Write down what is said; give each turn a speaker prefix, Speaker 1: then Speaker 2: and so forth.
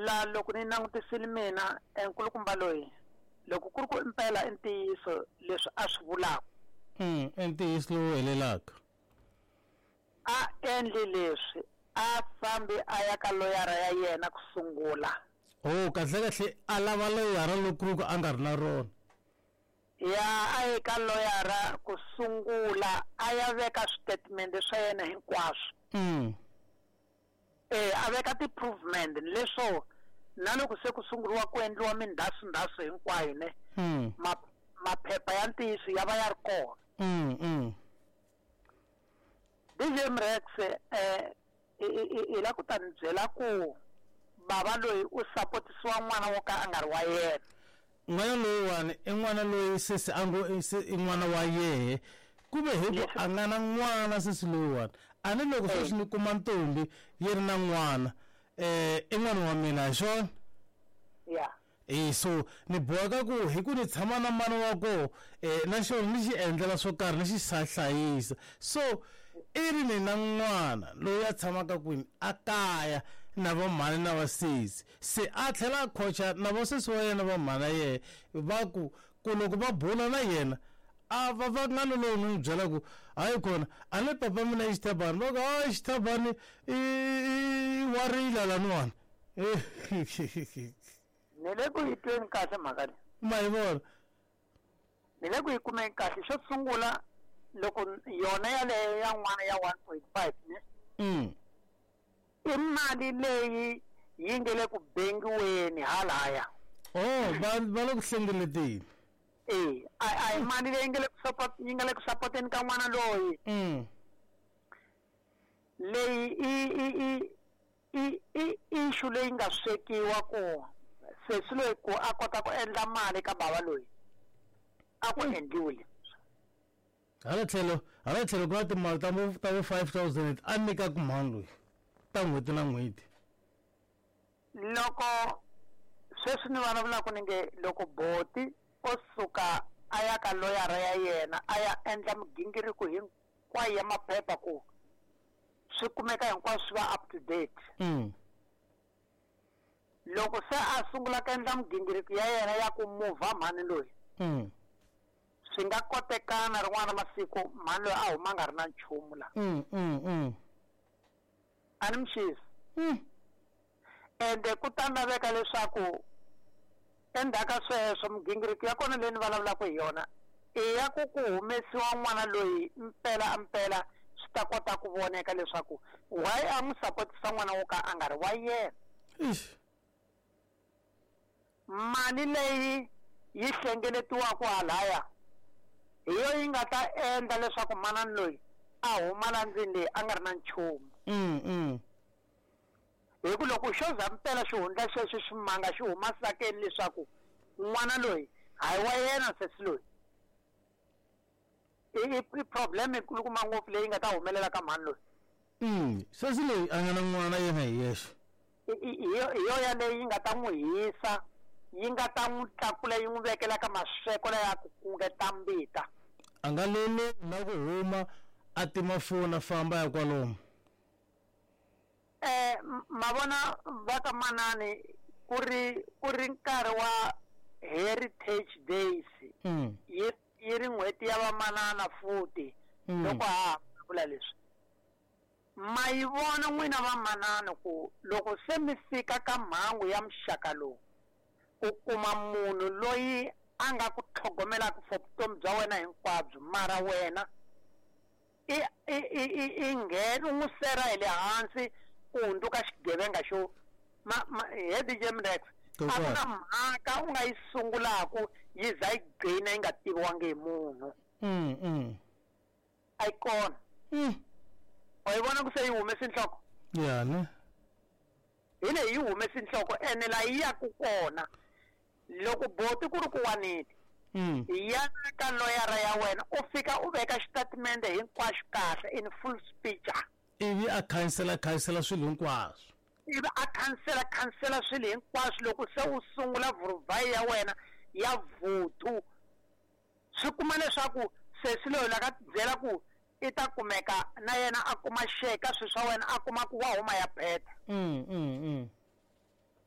Speaker 1: La loko ni langutisile mina nkulukumba loyi loko ku ri ku impela i ntiyiso leswi a swi vulaka.
Speaker 2: I ntiyiso lowu helelaka.
Speaker 1: A endli leswi a fambi a ya ka loyara ya yena ku sungula.
Speaker 2: Oh, kahle kahle a lava loyara loko ku ri ku a nga ri na rona.
Speaker 1: Ya a ye ka loyara ku sungula a ya veka switatimende swa yena hinkwaswo. A veka ti-provement leswo na loko se ku sunguriwa ku endliwa mindhasundhasu hinkwayo ne maphepha ya ntiyiso ya va ya ri kona. DJ Mrex i la ku ta ni byela ku bava loyi u sapotisiwa n'wana wo ka a nga ri wa yena.
Speaker 2: N'wana loyiwani i n'wana loyi sesi a ngo i n'wana wa yehe kuve hi ku a nga na n'wana sesi loyiwani a ni loko sweswi ni kuma ntombi yi ri na n'wana i n'wana wa mina hi swona.
Speaker 1: Ya.
Speaker 2: So ni boheka ku hi ku ni tshama na mana wa koho na xona ni xi endlela swo karhi ni xi hlayisa. So i ri ni na n'wana loyi a tshamaka kwini a kaya na va mhani na vasesi se a tlhela a khocha na vasesi wa yena va mhana yehe va ku ku loko va bula na yena a va va nga lowu ni n'wi byela ku hayi kona a ni papa mina i xithabani va ku hayi xithabani i wa rila laniwani.
Speaker 1: Ni le ku yi tweni kahle mhaka leyi.
Speaker 2: Ma yi vona?
Speaker 1: Ni le ku yi kumeni kahle. Xo sungula loko yona yaleyo ya n'wana ya 1.5 ne? I mali leyi yi nge le ku bengiweni halaya.
Speaker 2: Oh, va le ku hlengeleteni.
Speaker 1: A hi mali leyi nge le ku support, yi nga le ku supporteni ka n'wana loyi. Leyi i issue leyi nga swekiwa ku sesi loyi ku a kota ku endla mali ka bava loyi a ku endliwile.
Speaker 2: Hala tlhelo ku na timali ta vo 5,000 a nyikaka mhani loyi ta n'hweti na n'hweti.
Speaker 1: Loko sweswi ni vulavulaka ni nge loko boti o suka a ya ka loyara ya yena a ya endla migingiriko hinkwayo ya maphepha ku swi kumeka hinkwaswo swi va up to date. Loko se a sungula ku endla migingiriko ya yena ya ku muvha mhani loyi, swi nga kotekana rin'wana masiku mhani loyi a huma nga ri na nchumu la. A ni mixisi. Ende ku ta laveka leswaku endzhaku ka sweswo migingiriko ya kona leyi ni vulavulaka hi yona i ya ku ku humesiwa n'wana loyi mpela a mpela swi ta kota ku voneka leswaku why a n'wi sapotisa n'wana wo ka a nga ri wa yena. Mali leyi yi hlengeletiwaka halaya hi yo yi nga ta endla leswaku manani loyi a huma la ndlwini leyi a nga ri na nchumu. Hi ku loko xo za mpela xihundla xexo ximanga xi huma sakeni leswaku n'wana loyi hayi wa yena sesi loyi, i problem yikulukumba ngopfu leyi nga ta humelela ka mhani loyi.
Speaker 2: Sesi loyi a nga na n'wana yena hi yexe.
Speaker 1: Hi yo yaleyo yi nga ta n'wi hisa, yi nga ta n'wi tlakula yi n'wi vekela ka masweko laya ku kungeta mbita.
Speaker 2: A nga lolo na ku huma a tima foni a famba ya kwalomu.
Speaker 1: Mavona va ka manani ku ri nkarhi wa Heritage Days. Yi ri n'hweti ya vamanana futhi loko ha vula leswi. Ma yi vona n'wina vamanana ku loko se mi fika ka mhangu ya muxaka lowu u kuma munhu loyi a nga ku tlhogomelaka for vutomi bya wena hinkwabyo mara wena i nghena u n'wi sera hi le hansi u hundzuka xigevenga xo he DJ Mrex a ku na mhaka u nga yi sungulaku yi za yi gcina yi nga tiviwangi hi munhu. A yi kona. Wa yi vona ku se yi humese nhloko?
Speaker 2: Ya ne.
Speaker 1: Hi leyi yi humese nhloko ene la yi yaku kona loko boti ku ri ku wanile ya ka loyara ya wena u fika u veka xitatimende hinkwaxo kahle in full speech.
Speaker 2: Ivi a khansela swilo hinkwaswo.
Speaker 1: Ivi a khansela swilo hinkwaswo loko se u sungula vuruvhayi ya wena ya vuthu swi kuma leswaku sesi loyi la ka byela ku i ta kumeka na yena a kuma share ka swilo swa wena a kuma ku wa huma ya phetha.